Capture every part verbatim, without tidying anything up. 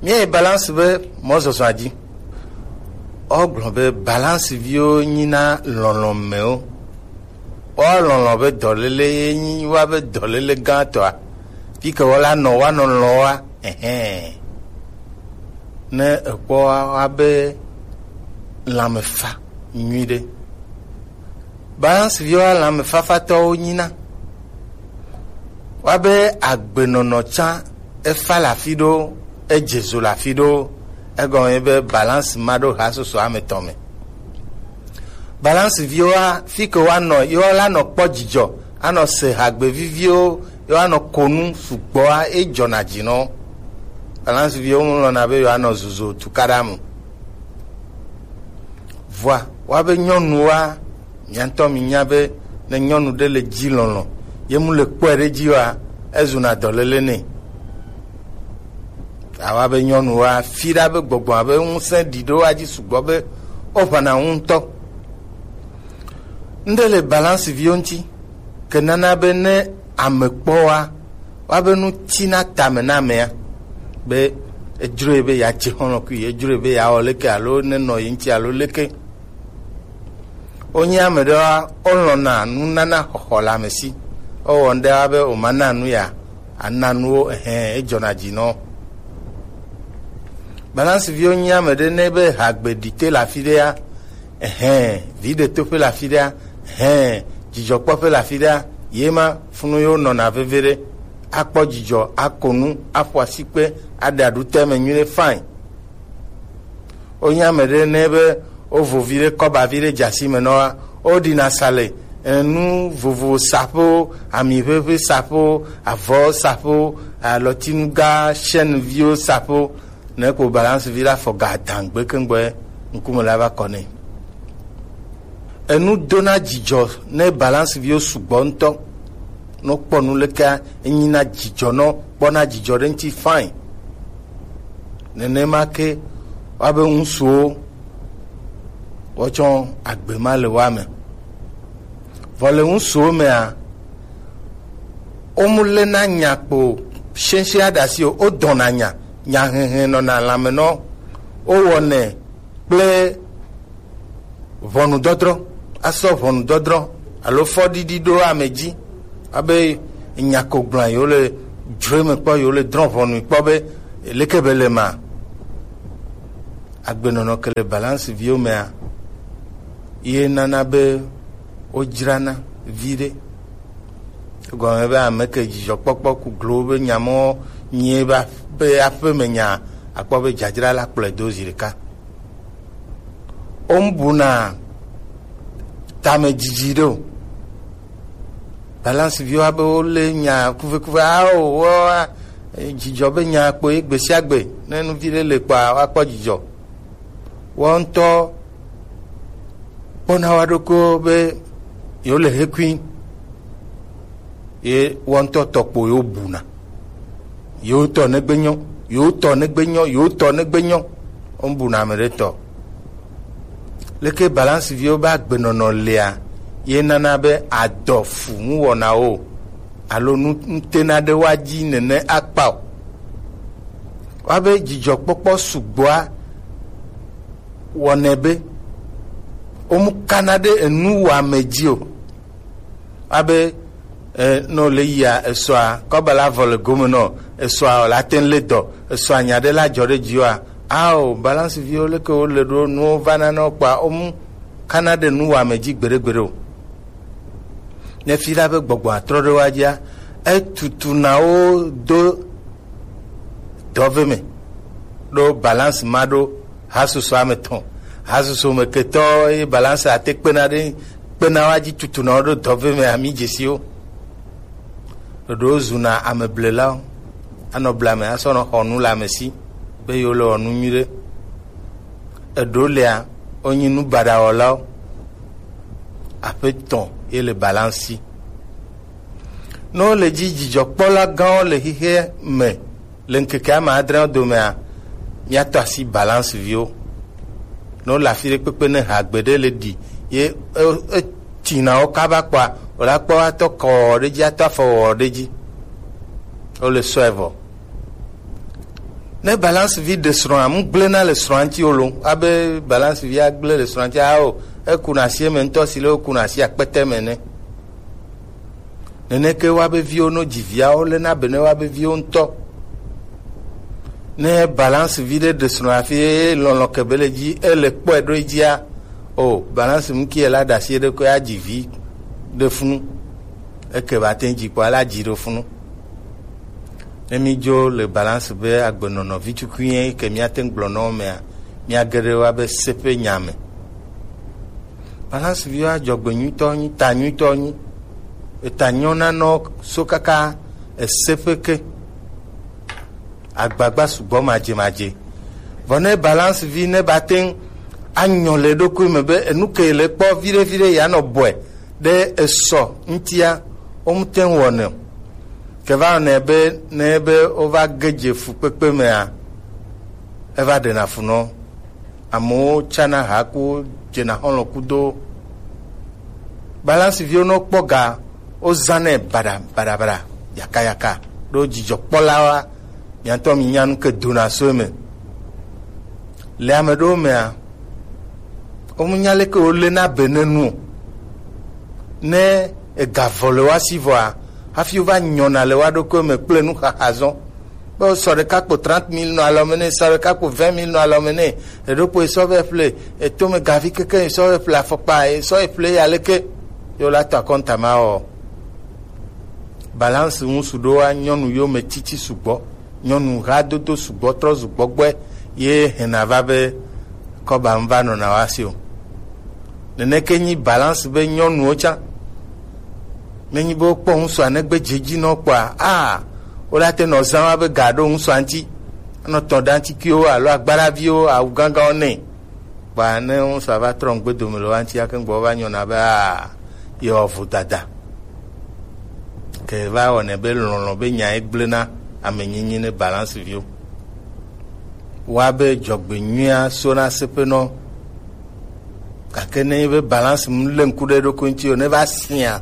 Míayi balance be mɔzɔzɔa dzi. Wogblɔ be balance viwo nyina lɔlɔ̃mɛwo. Woa lɔlɔ̃ be dɔléle ye nyi woa be dɔléle gãtɔa. Fi ke wola nɔ woanɔ lɔ̃ wa, ɛhɛn. Ne ekpɔ wa, woa be lãmefa nyuiɖe. Balance viwo lãmefafatɔwo nyina. Woabe agbenɔnɔ tsã efa le afi ɖo, edze zo le afi ɖo, egɔme be balance ma ɖo ha soso ame tɔn me. Balance viwoa, fi ke woanɔ, yewo la nɔ kpɔ dzidzɔ, anɔ se hagbe viviwo, yewo anɔ konu sugbɔa, edzɔna dzi nɔ. Balance viwo mu lɔna be yewo anɔ zuzo tukaɖa mu. Vɔa, woabe nyɔnuwoa, mia ŋutɔ minya be ne nyɔnu ɖe le dzi lɔlɔ̃, ye mu le kpɔe ɖe dzi oa, ezuna dɔléle nɛ. Awa be nyɔnuwoa, fi ɖa be gbɔgbɔ abe ŋusẽ ɖi ɖo woa dzi sugbɔ be woʋãna ŋu ŋutɔ. Ŋɖe le balance viwo ŋuti, ke nana be ne ame kpɔ wa, woabe nu tina tame na amea, be edzroe be yeadze xɔlɔ̃ kui, edzroe be yeawɔ leke alo nenɔ ye ŋuti alo leke. Wonye ame ɖewoa, wolɔ̃na nunana xɔxɔ le ame si. Wowɔ ŋɖe wa be womana nu ya, ana nuwo, ehɛn, edzɔna dzi nɔ. Balance viwo nye ame ɖe ne be hagbe ɖi te le afi ɖea, ehɛn, vi ɖe toƒe le afi ɖea, ehɛn, dzidzɔkpɔƒe le afi ɖea, ye ma funu yewo nɔna veve ɖe, akpɔ dzidzɔ, ako nu, aƒo asikpe, aɖe aɖu te me nyuie ɖe, fine. Wonye ame ɖe ne be wovo vi ɖe, kɔba vi ɖe dze asi me nɔ wa, woɖina sa le, enu vovo saƒewo, ami ʋeʋe saƒewo, avɔ saƒewo, alɔtinuga, chaîne viwo saƒewo, ne ko balance vi la fɔ ga dangbe kengbe ŋkume la va kɔ nɛ. Enu dona dzidzɔ ne balance viwo sugbɔ ŋutɔ. No kpɔ nu leke enyina dzidzɔ nɔ kpɔna dzidzɔ ɖe ŋuti fine. Nenema ke woabe ŋusuwo wotsɔ agbe ma le woa me. Vɔ le ŋusuwo mea, womu lena nya kpo shɛnshɛn aɖe asi o, wodɔna nya, nya hehe nɔna lãme nɔ, wowɔnɛ kple ʋɔnudɔdrɔ̃, asɔ ʋɔnudɔdrɔ̃ alo fɔɖiɖi ɖo ame dzi, abe nya ko gblɔa yewo le dzroe me kpɔ, yewo le drɔ̃ ʋɔnui kpɔ be leke be le ma. Agbenɔnɔ ke le balance viwo mea, ye nana be wodzrana vi ɖe. Gɔme be ame ke dzidzɔkpɔkpɔ ku glo be nya mɔ nyie be aƒe me nya, akpɔ be dzadzra la kplɔe do zi ɖeka. Womebuna tame dzidzi ɖe o. Balance viwo abe wolé nya kuvekuve ao, woa, dzidzɔ be nya kpo ye gbe sia gbe. Ne nu vi ɖe le kpɔa, woakpɔ dzidzɔ. Woawo ŋutɔ kpɔna woa ɖokuiwo be yewo le hekui. Ye woawo ŋutɔ tɔ kpo yewo buna. Yewo tɔ negbe nyɔ, yewo tɔ negbe nyɔ, yewo tɔ negbe nyɔ. Womebuna ame ɖe tɔ. Leke balance viwo be agbenɔnɔ lea, ye nana be adɔ fu nuwɔnawo alo nu, nutena ɖe woa dzi nene akpa o. Woabe dzidzɔkpɔkpɔ sugbɔa wɔnɛ be womekana ɖe enuwɔame dzi o. Abe, eh, ne wòle yia esɔa, kɔba la vɔ le gome nɔ, esɔa wòle ate ŋu lé dɔ, esɔa nya ɖe la dzɔ ɖe dziwòa, ao, balance viwo leke wole ɖo nuwo vana nɔ kpɔa, womu kana ɖe nuwɔame dzi gbeɖegbeɖe o. Ne fi la be gbɔgbɔ atrɔ ɖe woa dzia, etutuna wo do dɔve me ɖo balance ma ɖo hasusu ame tɔn. Hasusu me ketɔ ye balance ate kpena ɖe, kpena wa dzi tutuna wo ɖo dɔve me ami dzesiwo. Ɖoɖo zuna ame blelawo. Anɔ blame asɔ nɔ xɔ nu le ame si be yewo le wɔ nu nyui ɖe. Eɖo lea, wonyi nu baɖa wɔlawo. Aƒetɔ ye le balance si. Ne wole dzi dzidzɔkpɔla gãwo le xexea me le ŋkeke ame adreawo domea, míatɔ asi balance viwo. Ne wole afi ɖe kpekpe ne ha gbeɖe le ɖi, ye e- etina wo kaba kpɔa, wòle akpɔ atɔ kɔ wɔwɔ ɖe dzi, atɔ afɔ wɔwɔ ɖe dzi. Wole sɔe vɔ. Ne balance vi ɖe srɔ̃a, mu gblẽna le srɔ̃a ŋuti o lo. Abe balance vi agblẽ le srɔ̃a ŋuti, ao, eku na asi eme ŋutɔ si le woku na asi akpete me ne. Neneke woabe viwo no dzi viawo le na be ne woabe viwo ŋutɔ. Ne balance vi ɖe ɖe srɔ̃a fi eye lɔlɔ̃ kebe le dzi, ele kpɔe ɖo edzia, o, balance mu ki ela ɖe asi ɖe ko ya dzi vi ɖe funu. Eke ba te dzi kpɔ ala dzi ɖo funu. Ne mi dzo le balance be agbenɔnɔ vi tukui ke mia te gblɔ nɔ mea, mia geɖe wa be seƒe nya me. Balance viwo adzɔgbe nyuitɔ nyi, ta nyuitɔ nyi. Eta nyɔna nɔ so kaka eseƒe ke. Agbagba sugbɔ madze madze. Vɔ ne balance vi ne ba te anyɔ le ɖokui me be enu ke le kpɔ viɖe viɖe ya nɔ bɔe ɖe esɔ ŋutia, wo ŋute wɔnɛ o. Ke va wɔnɛ be ne be wova ge dze fukpekpe mea, eva ɖena fu nɔ. Amewo tsana ha ku dzena xɔlɔ kudo. Balance viwo nɔ kpɔ ga, wo zanɛ bada bada bada, yaka yaka. Ɖo dzidzɔkpɔlawoa, miatɔ mi nya nu ke dona so eme. Le ame ɖewo mea, wo mu nya leke wo le na be ne nu o. Ne ega vɔ le wa si vɔa, hafi wo va nyɔna le wa ɖokui me kple nu xaxa zɔn. Be wo sɔ ɖeka kpo trente mille nɔ alɔ me ne, sɔ ɖeka kpo vingt mille nɔ alɔ me ne, eɖo kpo esɔ vɛ ƒle, etome gavi keke esɔ vɛ ƒle afɔkpa, esɔ vɛ ƒle ya leke. Yo la tɔ akɔnta ma wɔ. Balance ŋusu ɖo wa nyɔnu yo me titi sugbɔ. Nyɔnu hadodo sugbɔ trɔ sugbɔ gbɔe ye hena va be kɔba ŋva nɔna wa si o. Neneke nyi balance be nyɔnuwo tsã. Menyi be wokpɔ ŋusua negbe dze dzi nɔ kpɔa, a, wo la te nɔ zã wa be ga ɖo ŋusua ŋuti. Anɔ tɔ ɖe ŋuti kiwo alo agbaraviwo awu gãgãwo nɛ. Kpa ne ŋusua va trɔ ŋgbe dome le wa ŋuti ake ŋgbɔ va nyɔna be, a, yewɔ vodada. Ke va wɔnɛ be lɔlɔ̃ be nya ye gblẽ na ame nyinyi ne balance viwo. Wa be dzɔgbe nyuia so na seƒenɔ. Gake ne be balance mu le ŋku ɖe ɖokui ŋuti o, ne va sia,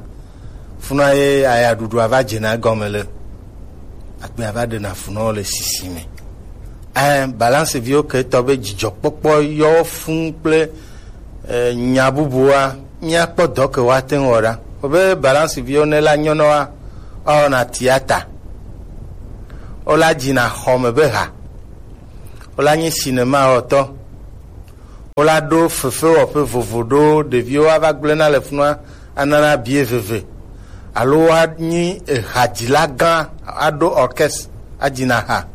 funa ye aya ɖuɖua va dzena gɔme le. Akpe ava ɖena funɔ le sisi me. Ɛ, balance viwo ke tɔ be dzidzɔkpɔkpɔ yɔ fun kple, ɛ, nya bubua, míakpɔ dɔ ke woate ŋu wɔ ɖa. Wobe balance viwo ne la nyɔnɔa, woawɔna tiata. Wola dzina xɔme be ha. Wola nyi sinema wɔtɔ. Wola ɖo fefewɔƒe vovo ɖo ɖeviwo ava gblẽna le funua anana bie veve. Alo woanyi ehadzila gã aɖo orchestre adzina ha.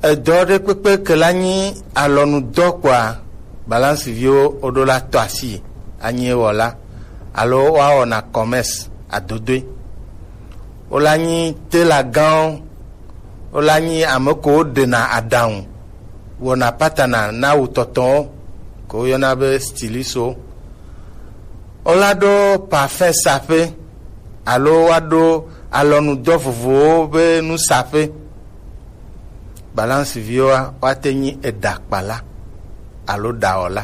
Edɔ ɖe kpekpe ke la nyi alɔnudɔ kpɔa, balance viwo woɖo la tɔ asi anyi ewɔla alo woawɔna commerce adodoe. Wola nyi tela gãwo, wola nyi ame ko woɖena aɖaŋu wɔna patana na wutɔtɔwo ko woyɔna be stylistwo. Wola ɖo parfum saƒe alo woaɖo alɔnudɔ vovovowo be nusaƒe. Balance viwoa, woate nyi eɖakpala alo ɖawɔla.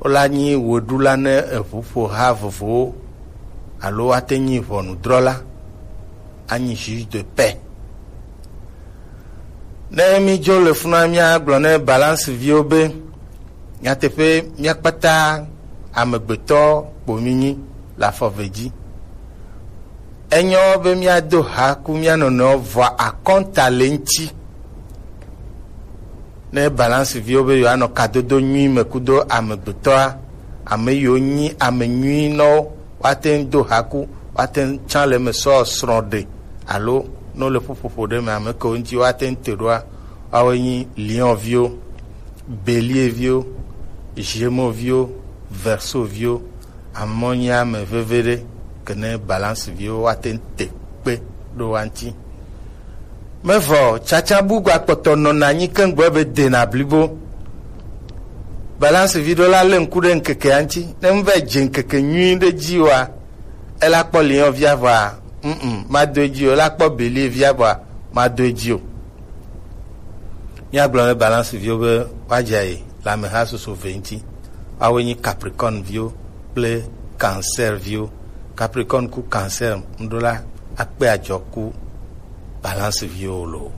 Wola nyi weɖula ne eʋuƒoha vovowo alo woate nyi ʋɔnudrɔla, anyi juge de paix. Ne mídzo le funua, míagblɔ ne balance viwo be, nyateƒe, mía kpata amegbetɔ kpo mí nyi le afɔ eve dzi. Enyɔ be míado ha ku mía nɔnɔewo vɔa akɔnta le ŋuti. Ne balance viwo be yewoanɔ kadodo nyui me kudo amegbetɔa, ame yiwo nyi ame nyui nɔwo, woate ŋu do ha ku, woate ŋu tsã le eme sɔ srɔ̃ ɖe, alo ne wole ƒuƒoƒo ɖe me, ame kewo ŋuti woate ŋu te ɖoa, woawoe nyi Lion viwo, Bélier viwo, Gémeaux viwo, Verseau viwo. Amɔ nyi ame veve ɖe ke ne balance viwo woate ŋu te kpe ɖo wa ŋuti. Mevɔ tsatsa bu gba kpɔtɔ nɔna anyi keŋ gbɔ be dena blibo. Balance vi ɖo la le ŋku ɖe ŋkeke ya ŋuti. Ne ŋu va dze ŋkeke nyui ɖe dzi wa, ela kpɔ Lion via vɔa, mm, mm, ma do edzi o. Ela kpɔ Bélier via vɔa, ma do edzi o. Míagblɔ ne balance viwo be woadze ayi le ameha susu ve ŋuti. Woawoe nyi Capricorne viwo kple Cancer viwo. Capricorne ku Cancer ŋɖo la akpe adzɔ ku balance viwo loo.